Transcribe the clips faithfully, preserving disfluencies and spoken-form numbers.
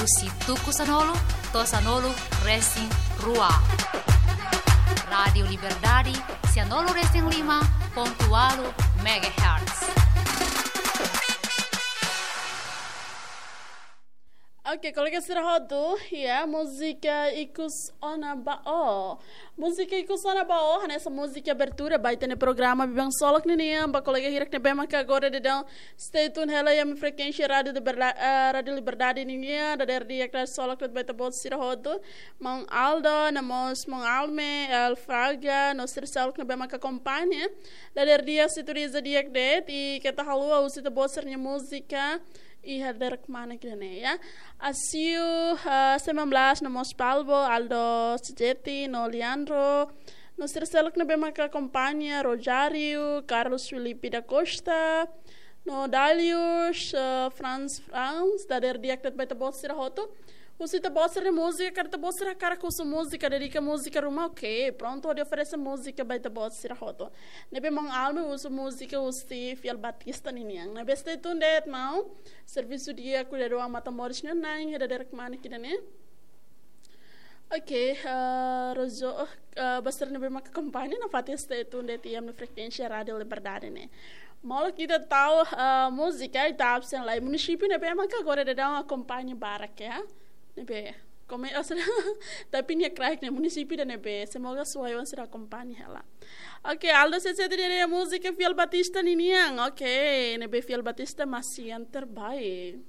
Husi tuku sanulu to'o sanulu resin rua. Rádiu Liberdade, sanulu resin lima pontu ualu megahertz. Oke, kolega sira hotu, ya, múzika ikus ona ba ó. Múzika ikus ona ba ó, hanesan múzika abertura ba ita-nia programa Biban Ksolok ninian, ba kolega hirak ne'ebé maka agora daudaun stay tune hela iha ami frekuénsia Rádiu Liberda-, eh, Rádiu Liberdade ninian, dadeer di'ak ksolok de'it ba ita-boot sira hotu. Maun Aldo, no mós maun Alme, El Fraga, no sira seluk ne'ebé maka akompaña. Dadeer di'ak sintonia di'ak de'it, i keta haluha husu ita-boot sira-nia múzika iha dadeer kmanek ida-ne'e, ya. Asiu, eh, sembilan belas, no mós Palbo, Aldo Sejeti, no Leandro, no sira seluk ne'ebé maka akompaña, Rojário, Carlos Filipe da Costa, no Dalius, eh, Franz Franz, dadeer di'ak de'it ba ita-boot sira hotu. Husu ita-boot sira-nia múzika, karik ita-boot sira hakarak husu múzika, dedika múzika ruma, oke, prontu hodi oferese múzika ba ita-boot sira hotu. Ne'ebé maun Alme husu múzika husi Fiel Batista ninian. Ne'ebé stay tune de'it maun. Servisu di'ak, kuidadu an matan-moris nian na'in iha dadeer kmanek ida-ne'e. Oke, eh, Rozo, eh, ba sira ne'ebé maka akompaña nafatin stay tune de'it iha ami-nia frekuénsia Rádiu Liberdade ne'e. Molok ita tau, eh, múzika, ita absen lai munisípiu ne'ebé maka agora daudaun akompaña barak, ya. Ne'ebé, kome-, oh, sira, tapi nia kraik ne'e munisípiu ida ne'ebé, semoga suai oan sira akompaña hela. Oke, Aldo Sejeti dehan múzika Fiel Batista ninian. Oke, ne'ebé Fiel Batista masih yang terbaik.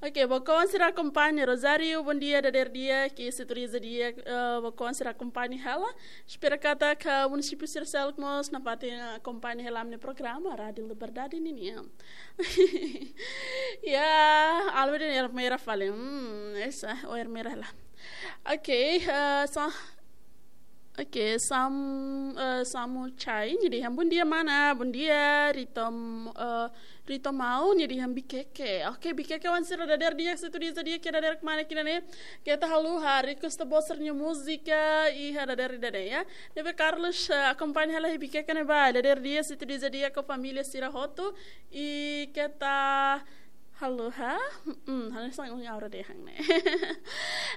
Oke, ba kolega sira akompaña, Rosário, bondia, dadeer di'ak, sintonia di'ak, eh, ba kolega sira akompaña hela. Espera katak munisípiu sira seluk mós nafatin akompaña hela ami-nia programa Rádiu Liberdade ninian. Ya, Alme dehan Ermera fali. Hmm, esa, o Ermera hela. Oke, eh, sa-, oke, Sam-, eh, Samu Chai, nia dehan bondia mana, bondia, Rito, eh, Rito Mau, nia dehan Bikeke. Oke, Bikeke oan sira dadeer di'ak sintonia di'ak iha dadeer kmanek ida-ne'e. Keta haluha request ita-boot sira-nia múzika iha dadeer ida-ne'e, ya. Ne'ebé Carlos, eh, akompaña hela iha Bikeke ne'ebá, dadeer di'ak sintonia di'ak ho família sira hotu. I keta haluha, hmm, hanesan ohin ha'u dehan ne'e.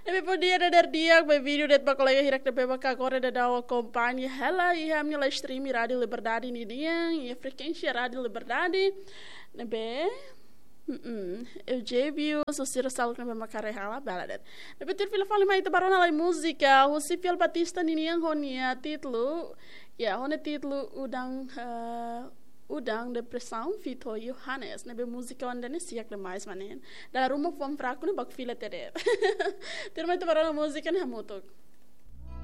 Ne'ebé bondia, dadeer di'ak, bem-vindo de'it ba kolega hirak ne'ebé maka agora daudaun akompaña hela iha ami-nia live stream Rádiu Liberdade ninian, iha frekuénsia Rádiu Liberdade. Ne'ebé, mm, Eusébio, no sira seluk ne'ebé maka haree hela, bele de'it. Ne'ebé tuir fila fali mai ita bá rona lai múzika husi Fiel Batista ninian ho nia títulu, ya, ho nia títulu Udan, eh, Udan Depresaun feat Yohanes. Ne'ebé múzika oan ida-ne'e siak demais, manen. Dala ruma fuan fraku ne'e baku fila tiha de'it. Tuir mai ita bá rona múzika ne'e hamutuk.